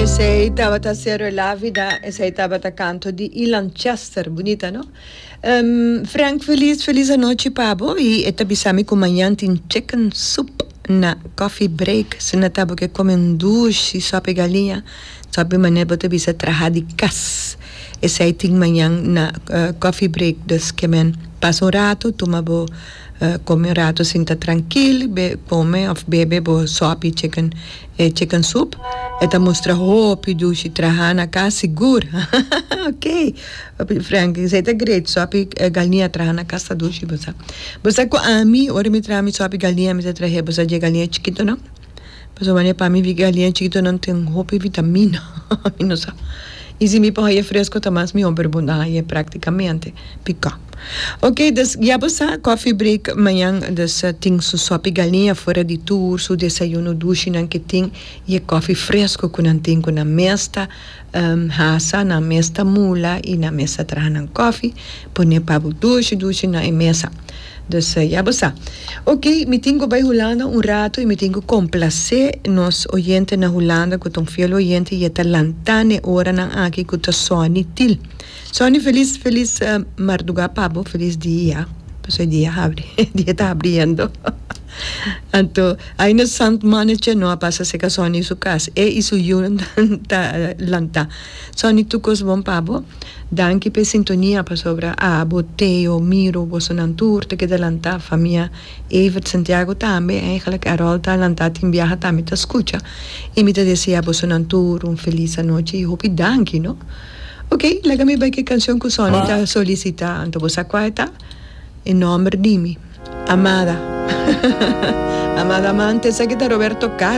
Esey tabata Cero La Vida, esey tabata canto di Ilan Chester, bunita no? Frank feliz feliz anochi pa bo y e ta bisa mi cu mañan tin chicken soup na coffee break, si na ta bo ke come un dushi sopi galiña, sopi manera bo ta bisa traha di cas, esey tin mañan na coffee break, dus ke men pasa un rato tuma bo Come un rato sinta trankil, be come of bebe bo sopi chicken e chicken soup. E ta mustra hopi dushi traha na cas sigur. Ok, Frank, esey ta great, sopi galiña traha na cas ta dushi bo sa. Bo sa cu ami ora mi traha mi sopi galiña mi ta trahe bo sa dje galiña chikito no. Pasobra manera pa mi galiña chikitonan tin hopi vitamina, mi no sa. Y si mi por haya fresco ta mas mihor, pero bo no haya practicamente pica. Ok, dus ya bo sa, coffee break mañan, dus tin su sopi galiña fuera di tur su desayuno dushinan ke tin y e coffee fresco cu nan tin cu nan mes ta hasa, nan mes ta mula y nan mes ta traha nan coffee, pone pa bo dushi dushi na e mesa. Dus ya bo sa. Ok, mi tin ku bai Hulanda un ratu i mi tin ku komplasé nos oyente na Hulanda ku ta un fiel oyente i e ta lantá n'e oranan aki ku ta Sonny Til. Sonny felis felis mardugá pa bo, felis dia, pasobra e dia habri, e dia ta habriendo. Anto aina Sant Mannetje no a pasa seka Sonny su kas, e i su yunan ta lantá. Sonny tur kos bon pa bo. Danki p'e sintonia pasobra abo, Teo, Miro, bosonan tur ta keda lantá, famia Evert Santiago tambe, eigenlijk Errol ta lantá tin biaha tambe ta skucha i mi ta desea bosonan tur un felis anochi i hopi danki no. Ok, laga mi bai ku e kanshon ku Sonny ta solisitá, anto bo sa kua e ta? E nòmber di mi, Amada. Amada Amante, esaki ta Roberto Carlos.